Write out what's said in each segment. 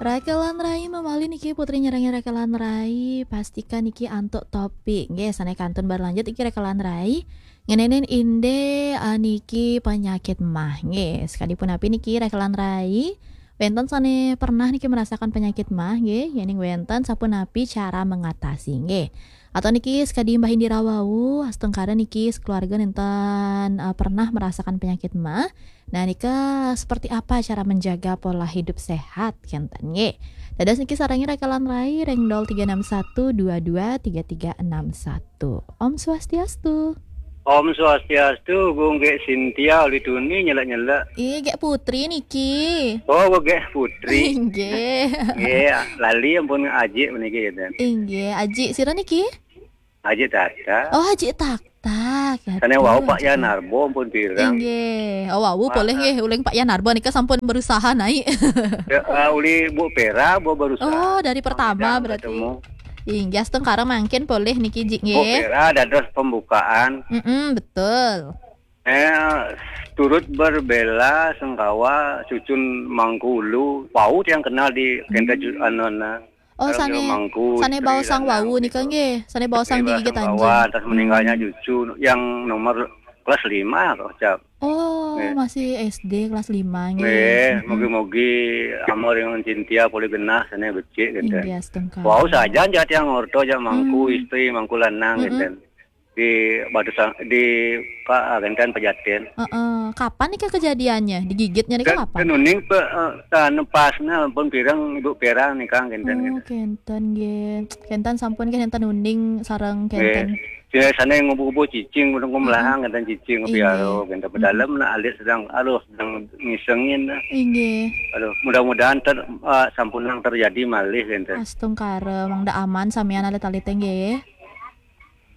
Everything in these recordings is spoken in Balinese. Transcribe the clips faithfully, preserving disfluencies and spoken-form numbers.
Rakelan Rai, mamali niki Putri nyerangi Rakelan Rai, pastikan niki antuk topik. Nggih, sane kantun berlanjut iki Rakelan Rai. Ngeninin inde, ah, niki penyakit mah. Nggih, sekalipun api niki Rakelan Rai, wenten sane pernah niki merasakan penyakit mah, nggih, yening wenten sapunapi cara mengatasi, nggih. Atau niki sekadi Mbah Indira wau, astungkara niki sekeluarga nenten, eh, pernah merasakan penyakit mah. Nah, nika seperti apa cara menjaga pola hidup sehat, kenten, nggih. Dados niki sarengi Rakelan Rai ring nol tiga enam satu dua dua tiga tiga enam satu. Om Swastiastu. Om Swastiastu, Gung Gek Sintia, uli tuni nyelek-nyelek. Ih, Gek Putri niki. Oh, Gung Gek Putri. Inggih. Nggih, lali ampun ajik meniki, gitu. Inggih, ajik sira niki? Ajik Tata. Oh, ajik Taktak. Sane wau Pak Yan Arbo ampun pirang. Inggih. Oh, wau polih nggih, uling Pak Yan Arbo nika sampun berusaha naik. Ya, eh, uli Bu Pera, Bu berusaha. Oh, dari pertama berarti. Ketemu. Inggih, astungkara mangkin polih niki, jik, Bu nggih. Pera dados pembukaan. Mm-mm, betul. Eh, turut berbela sengkawa cucun Mangkulu. Wau tiang kenal di Kenta Ju-, Hmm. Anona. Oh, Kalau sane, Mangku, sane Istri baosang Lanang wau nika gitu. Nggih, sane baosang Nggih, digigit baosang anjing. Wau, terus meninggalnya Hmm. Cucu yang nomor kelas lima, kok, Cap. Oh, Nggih. Masih S D kelas lima, nggih. Nggih, Mm-mm. Mugi-mugi Amor yang Cintia pulih genah, sane becik, gitu. Inggih, astungkara. Wau saja, jat yang orto, jat Mangku, Hmm. Istri, Mangku Lanang, Mm-mm. Gitu. Di Batu Sang-, di Pak Gentan Pejaten. Heeh. Kapan nika kejadiannya? Digigitnya nika kapan? Ten uning pe, eh, tan pasna pun pirang Ibu Pera nika, Gentan, Oh, gitu. Kenten, nggih. Kenten sampun, nggih, nenten uning sareng Nggih. Kenten. Sira sane ngubu-ngubu cicing, gunung Heeh. Melahang, Gentan cicing, Inggih. Piaro, Gentan pedalem, Mm-mm. Nah, alit sedang, aduh, sedang ngisengin, nah. Inggih. Aduh, mudah-mudahan ter-, eh, sampunang terjadi malih, Gentan. Astungkara, mangda aman samian alit-alite, nggih.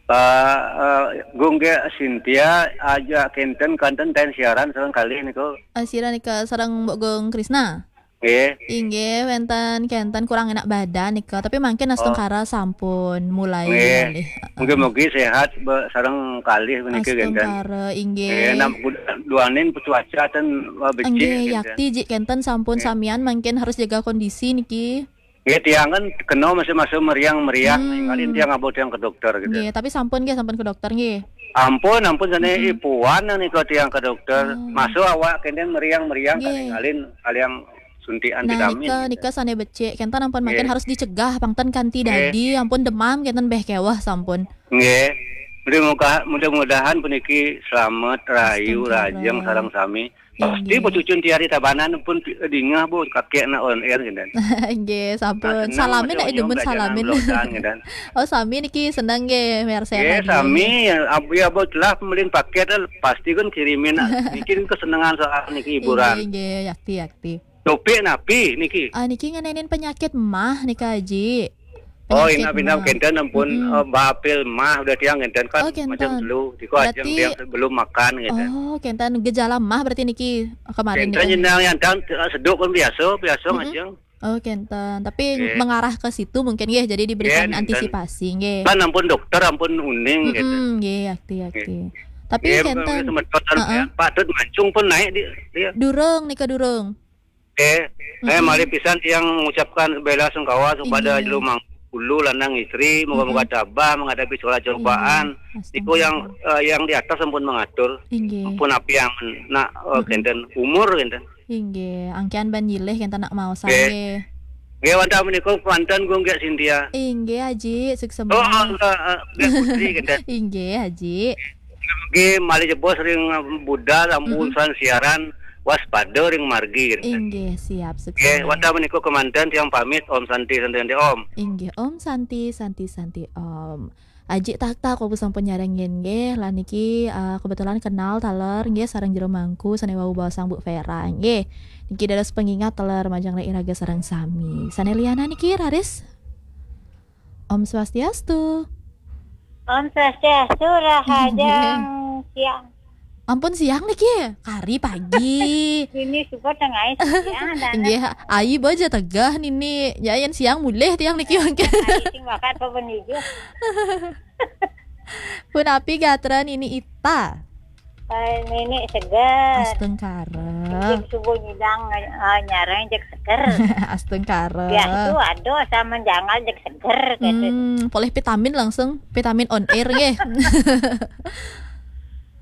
Pak, eh, Gung Gek Sintia, aja kenten kanten ten siaran sareng kalih niku. Eh, sira nika sareng Mbok Gung Krisna? Nggih. Inggih, wenten kenten kurang enak badan nika, tapi mangkin Oh. Astungkara sampun mulai Nggih. Malih. Heeh. Mugi-mugi sehat be-, sareng kalih menika kenten. Astungkara, inggih. Nggih, nam-, duaning cuaca ten, eh, becik Nggih, kenten. Yakti jik kenten sampun Nggih. Samian mangkin harus jaga kondisi niki. Nggih, tiang kan kena masa-masa meriang-meriang, Hmm. Ngalih tiang abot tiang ke dokter gitu. Nggih, tapi sampun nggih, sampun ke dokter nggih. Ampun, ampun, sane Mm-mm. ipuan yang nika tiang ke dokter. Oh. Masuk awak kenten meriang-meriang, Nggih. Ngalih aliang suntikan Nah, vitamin nika, gitu. Nika sane becik, kenten ampun mangkin Nggih. Harus dicegah, pang ten kanti Nggih. Dadi, ampun demam, kenten beh kewah sampun. Nggih. Mudah-mudahan, mudah-mudahan puniki selamat, rayu, Astungkara. Rajeng, sareng sami. Pasti Inggih. Becucun tiari Tabanan pun pi-, dingeh, Bu, kakek nak on air, gitu. Inggih, sampun. Nah, senang salamin, masih nak onyong demen belajaran salamin. Blosan, gitu. Oh, sami niki seneng nggih, mersean nggih, lagi. Sami, ya, abu, ya, Bu, telah pembelian paket, eh, pasti kan kirimin, nah. Niki kesenangan soal niki hiburan. Inggih, inggih, yakti, yakti. Topik napi niki? Ah, niki ngenenin penyakit mah nika, Ji. Oh, penyakit inap-inap mah. Kenten ampun, Mm-mm. Eh, bapil mah udah tiang kenten kan Oh, kenten. Macam dulu. Tiku ajeng berarti tiang sebelum makan kenten. Oh, kenten gejala mah berarti niki kemarin kenten nika. Jenang yang tang, eh, seduk kan biasa, biasa Mm-mm. Ajeng. Oh, kenten. Tapi nggih. Mengarah ke situ mungkin nggih, jadi diberikan nggih, kenten. Antisipasi nggih. Kan ampun dokter, ampun uning kenten. Mm-mm, nggih, yakti, yakti. Nggih. Tapi nggih, kenten. Semeton heeh. Ya, patut mancung pun naik di, dia. Durung nika durung. Eh, eh, mm-mm. Malih pisan tiang mengucapkan bela sungkawa kepada inggih. Jero Mangku Ulu lanang istri, moga-moga mm-mm. Tabah menghadapi segala cobaan. Inggih. Niku yang, eh, yang di atas ampun mengatur. Inggih. Ampun api yang nak, eh, mm-mm. Kenten umur kenten. Inggih, angkian ban nyilih kenten nak maosan nggih. Nggih. Nggih, wantah menika kemanten Gung Gek Sintia. Inggih, Haji, suksema. Oh, enggak, eh, Gek Putri kenten. Inggih, Haji. Nggih, malih jebos ring budal, mm-mm. Rambusan siaran, waspada ring margi, gitu. Inggih, siap, sukses. Nggih, wantah menika kemanten tiang pamit, Om Santi, Santi, Santi, Om. Inggih, Om Santi, Santi, Santi, Om. Aji tak tak, aku sampun nyarengin, nggih. Lan niki, eh, kebetulan kenal taler, nggih, sareng Jero Mangku, sane wau baosang Bu Vera, nggih. Niki dados pengingat taler majeng ring iraga sareng sami. Sane liana niki, raris? Om Swastiastu. Om Swastiastu, rahajeng siang. Ampun siang niki, kari pagi. Ini suka tengah siang, dan nggih, ayi baja tegah nini. Ya, yen siang mulih tiang niki mangkin. Ayi sing bakat apa benijo? Punapi gatra nini Ita? Eh, Nini seger. Astungkara. Subuh nyidang, eh, nyarang jeg seger. Astungkara. Ya, itu ada sama jangal jeg seger, gitu. Hmm, poleh vitamin langsung, vitamin on air nggih.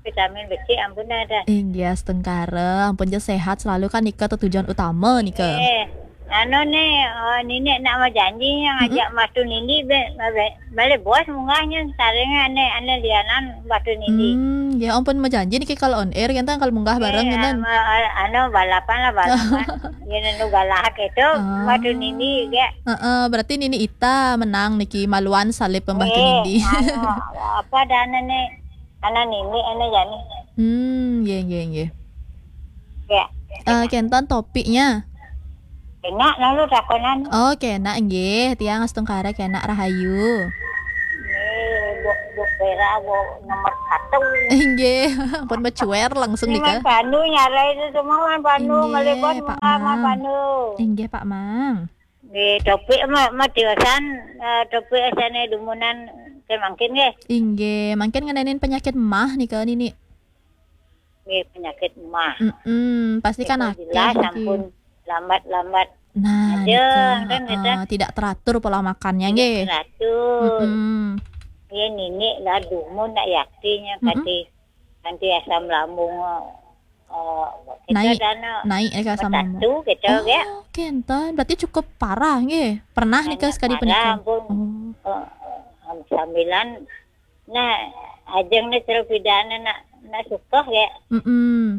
Vitamin besi ampun ada. Inggih, astungkara. Ampun je sehat selalu kan nika tujuan utama nika. Eh, anu nih, eh, Nini nak mau janji yang ajak Mas Tunindi be, be, balik bos munggahnya saring ane ane lianan Mas Tunindi. Hmm, ya ampun mau janji niki kalau on air kan kalau munggah bareng kan. Anu balapan lah balapan. Ya nenu galak itu Mas Tunindi ge. Heeh, berarti Nini Ita menang niki maluan salib pembah Tunindi. Anu, apa dana nih? Ana Nini ene jani. Hmm, nggih nggih nggih. Ya. Eh, kenten topiknya. Enak lalu takonan. Oh, kena nggih, tiang astungkara kena rahayu. Nggih, bu, bu Vera bu nomor satu. Nggih, ampun mencuer langsung nika. Panu nyarai itu semua kan Panu, nggih, Pak Mang. Panu. Nggih, Pak Mang. Nggih, topik ma, ma tiosan, eh, topik asane dumunan ke mangkin nggih. Inggih, mangkin ngenenin penyakit mah nika Nini. Nggih, penyakit mah. Mm-mm, pasti kan akeh jelas niki. Ampun lambat-lambat. Nah, aja, nika, kan, heeh, tidak teratur pola makannya nggih. Tidak teratur. Mm-mm. Nggih, Nini lah dumun nak yaktinya kati, kanti asam lambung, eh, kita naik, dana naik ya, asam lambung. Satu gitu ya. Oh, kenten. Berarti cukup parah nggih. Pernah nika sekali parah, penyakit? Ampun. Oh. Eh, sambilan nah ajeng nih terus pidana nak nak suka ya. Mm-mm.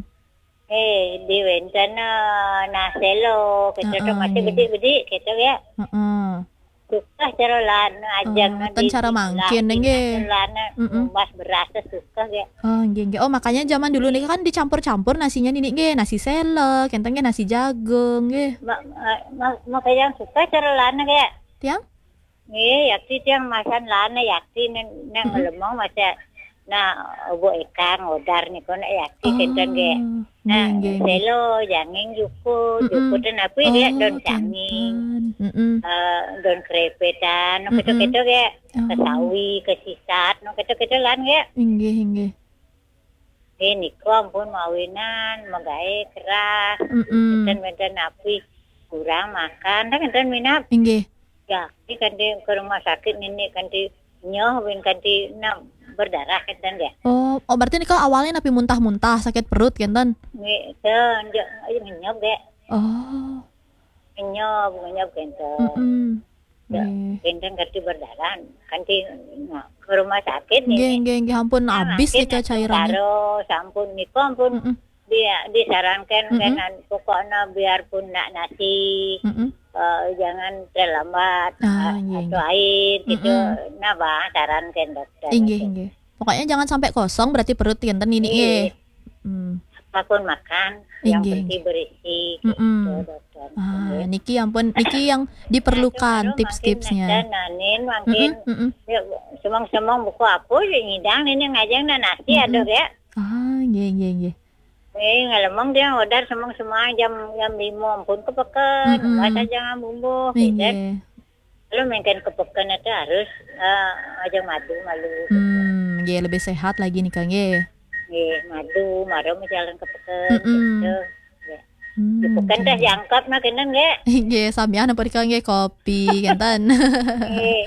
Eh, di wenten, eh, nah selo, kita tuh masih bedik-bedik, gitu ya. Heeh. Suka cara lan ajeng. Oh, nah, ten di cara mangkin nggih. Cara lan ngumbas beras tuh suka ya. Oh, nggih nggih. Oh, makanya zaman dulu nih kan dicampur-campur nasinya Nini nggih, nasi selo, kenten nggih nasi jagung nggih. Ma, ma, ma, makanya suka cara lan ya. Tiang? Nggih, yakti tiang masan lana yakti nang, nang lemong masa na obo ekang odar niko na yakti kenten nggih. Nah, nggih, nggih, nggih. Selo, janging, jukut, jukut dan apa ya, daun janging. Mm-mm. Eh, daun krepetan, no, mm-mm, keto-keto ya. Oh. Kesawi, kesisat, no, keto-keto lan ya. Inggih, inggih. Eh, niko ampun mawinan, magae keras. Mm-mm. Enten-enten api kurang makan, kan enten minap. Inggih. Ya, ini kan di ke rumah sakit Nini kan di nyoh win kan di na berdarah kan ya. Oh, oh berarti niko awalnya napi muntah-muntah, sakit perut kenten? Nggih, ten, ngenyop ya. Oh. Ngenyop, ngenyop kenten. Mm-mm. Ya, nggih. Kenten kati berdarah, kanti nah, ke rumah sakit nih. Nggih, nggih, nggih, ampun, nah, habis makin itu cairannya. Karo, sampun niko ampun. Mm-mm. Dia disarankan, mm-mm, kan, pokoknya biarpun nak nasi, mm-mm, eh, jangan terlambat, ah, eh, iya, atau iya, air gitu. Mm-mm. Nah, bah, sarankan dokter. Inggih, itu. Inggih. Pokoknya jangan sampai kosong berarti perut kenten Nini, iya, nggih. Hmm. Apapun makan, yang, inggih, penting berisi, mm-mm, gitu, dokter. Ah, nggih. Niki ampun, niki yang diperlukan tips-tipsnya. Nah, makin, makin, mm-mm, mm-mm, ya, semang-semang buku apa, ya, nyidang ini ngajeng nah nasi, mm-mm, ada ya. Ah, nggih, nggih, nggih. Eh, ngalemong dia order semang-semang jam, jam lima ampun ke peken, mm-mm, bahasa jangan bumbu, gitu. Nggih. Kalau main ke peken itu harus, eh, aja madu malu. Hmm, nggih, lebih sehat lagi nih, Kang, nggih. Nggih, madu, maro jalan ke peken, mm-mm, gitu. Ya. Hmm, di peken teh jangkep nah kenen nggih. Nggih, samian apa dikal nggih kopi kenten. Nggih,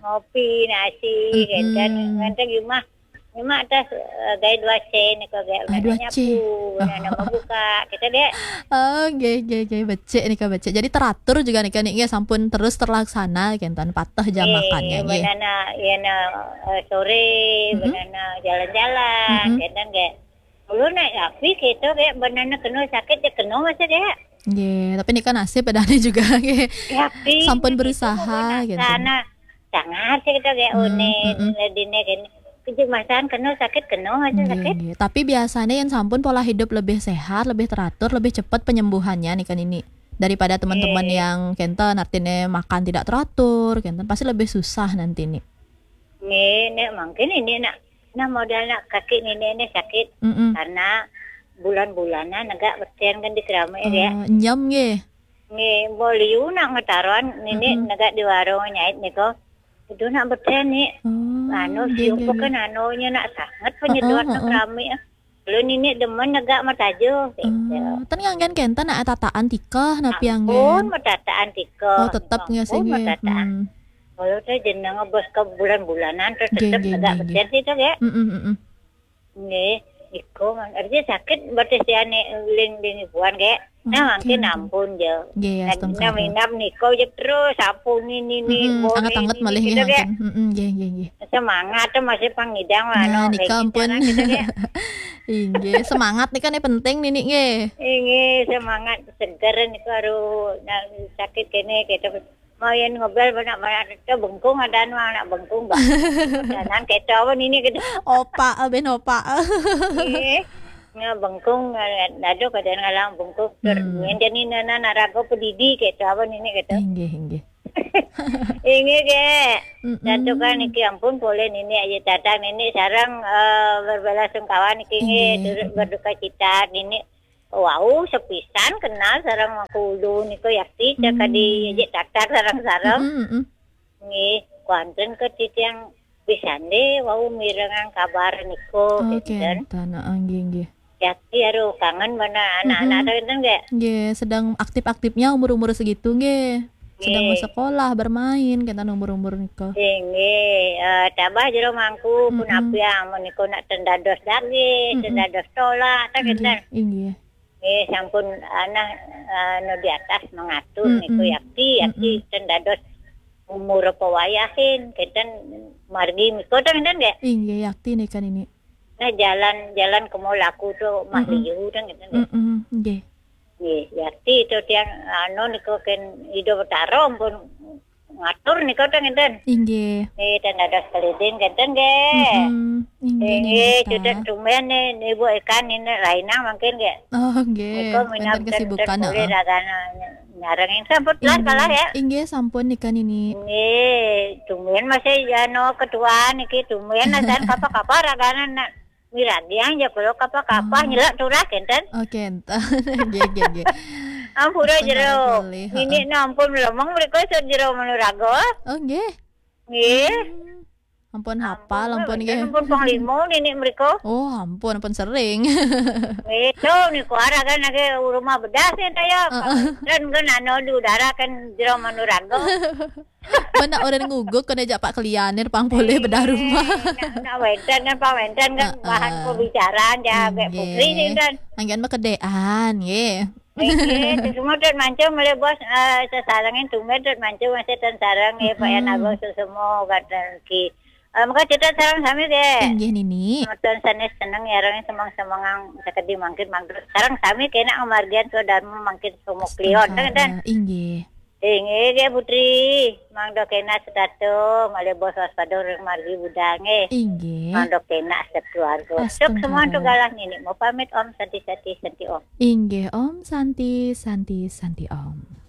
ngopi, nasi, mm-mm, kenten, kenten di rumah. Cuma atas, eh, gaya dua C nih kok gaya ah, dua C. Nyapu, oh, nana mau buka, kita deh. Oh, nggih, nggih, nggih, becik nih kok becik. Jadi teratur juga nih kan nggih sampun terus terlaksana kenten patah jam makannya nggih. Nggih, banana, ya na, eh, sore, mm-mm, banana jalan-jalan, mm-mm, kenten nggih. Dulu nak api kita kayak banana kena sakit dia kena masa dia. Nggih, tapi nika nasib padahal juga nggih. Ya, api sampun berusaha gitu. Sana sangat sih kita kayak, hmm, one, mm-mm, ladine kene. Kejuk masan kena sakit kena masa, nggih, sakit. Nggih. Tapi biasanya yang sampun pola hidup lebih sehat, lebih teratur, lebih cepat penyembuhannya nih kan ini. Daripada teman-teman, nggih, yang kenten artinya makan tidak teratur, kenten pasti lebih susah nanti nih. Nggih, nek mungkin ini nak, nah modal nak kaki nini ini sakit, mm-mm, karena bulan-bulanan agak beten kan di kerama ya. Eh, nyem nggih. Nggih, boliu nak ngetaruan nini, mm-mm, negak di warung nyait niko. Itu nak beten nih. Oh, anu, nggih, siung nggih, peken nggih. Anunya nak sangat penyedot, heeh, nak heeh. Rame. Kalau nini demen negak matajo gitu. Ah, ten anggen kenten nak tataan tikeh napi anggen? Ampun matataan tikeh. Oh, tetep nggih sih Ampun nggih. Matataan. Hmm. Kalau teh jenengan bos ke bulan-bulanan terus Nggih, tetep nggih, negak nggih, keten sih tuh ya. Mm, mm, mm, mm. Nggih, iko artinya sakit berarti si ane ling ling ibuan ge. Nah, Oke, mangkin oke. Ampun je. Nggih, Nah, astungkara. Nah, minap niko je terus sapu nini ni Mm, bone anget-anget ini malih gitu nggih ge. Ampun. Mm, mm, nggih, nggih, nggih. Semangat tuh masih pangidang Nah, anu, nika kayak ampun. gitu, gitu ge. Inggih, semangat nika nih penting nini nggih. Ini semangat seger niku aduh nah, sakit kene gitu. Mau yang ngobel banyak-banyak itu bengkung ada anu anak bengkung bah. Kanan kayak apa nini gitu. Opa, eh, ben opa. Eh, nggak bengkung, nggak dado kadang ngalang bengkung. Ter, Hmm. Yang jadi nana narago pedidi kayak apa nini gitu. Inggih, inggih. Ini ge. Mm-mm. Satu kan niki ampun boleh nini aja datang nini sarang eh, berbela sungkawa niki nggih Inggih, turut inggih. berduka cita nini. Wow, sepisan kenal sarang aku ulu niku yakti cak Hmm. di aja datar sarang-sarang. Mm-mm, mm-mm. Nggih, kuanten ke titiang pisan deh wau mirengang kabar niku Oh, gitu kan. kenten, heeh, nggih, nggih. Yakti aduh kangen mana anak-anak Mm-mm. tuh itu nggak? Nggih, sedang aktif-aktifnya umur-umur segitu nggih. Sedang Nggih. Bersekolah, bermain, kenten umur-umur nika. Inggih, eh, tabah jero mangku pun Mm-mm. apiang menika nak tendados daging, Mm-mm. Tendados tolak, tak Inggih, kenten. Inggih. Nggih, sampun anah eh, anu di atas mengatur Mm-mm. niku yakti, yakti Mm-mm. tendados umur apa wayahin kenten margi miko tak kenten nggih. Inggih, yakti nika nini. Nah jalan jalan kemo laku tu mah Mm-mm. liu tak kenten nggih. Mm-mm, nggih. Nggih, yakti itu tiang anu niku ken Ida Betara pun ngatur niku tak kenten. Inggih. Nggih, tendados kelidin kenten nggih. Mm-mm. Inggih, Inggih, nggih, sudah Ustaz. Tumben nih, nih Bu Ekan ini rainang mungkin nggih. Oh, nggih. Niku minap Wonten kesibukan, boleh heeh. Ragana nyarengin sampun telas Inggih. Kalah ya. Inggih, sampun nika nini. Nggih, tumben masih jano ketua niki tumben dan kapa-kapa Ragana nak miragiang ya kalau kapa-kapa Oh. Nyelak turah kenten. Oke, enten. Nggih, nggih, nggih. Ampura Ampun, jero. Ratu Lih, Nini ampun lemeng mereka jero menurago. Oh, nggih. Nggih. Hmm. Ampun hafal, ampun Wenten nggih. Ampun panglima nini mereka. Oh, ampun, ampun sering. Itu niku Ragana ke rumah bedah sih saya. Heeh. Dan kan anu di udara kan jero menurago. Mana orang nguguk kena jak Pak Klianir pang boleh bedah rumah. Nak, nak wenten kan Pak wenten kan Heeh. Bahan pembicaraan ya kayak putri sih kan. Anggen makedean, nggih. Nggih, semua tuh mancung mulai bos eh, sesarengin tumben tuh mancung masih ten sareng ya Pak Yan Mm-mm. Abang sesemo kata ki. Eh, maka kita sareng sami deh. Inggih nini. Semeton sanes seneng ya orang semang semangang sakedi mangkin mangkin. Sareng sami kena ngamargian swadharma mangkin semua klion kan kan. Inggih. Inggih ya Putri. Mangdo kena setato malih bos waspada ring margi budal nggih. Inggih. Mangdo kena sekeluarga. Astungkara. Suk semua tuh galah nini. Mau pamit Om Santi Santi Santi Om. Inggih Om Santi, Santi, Santi Om.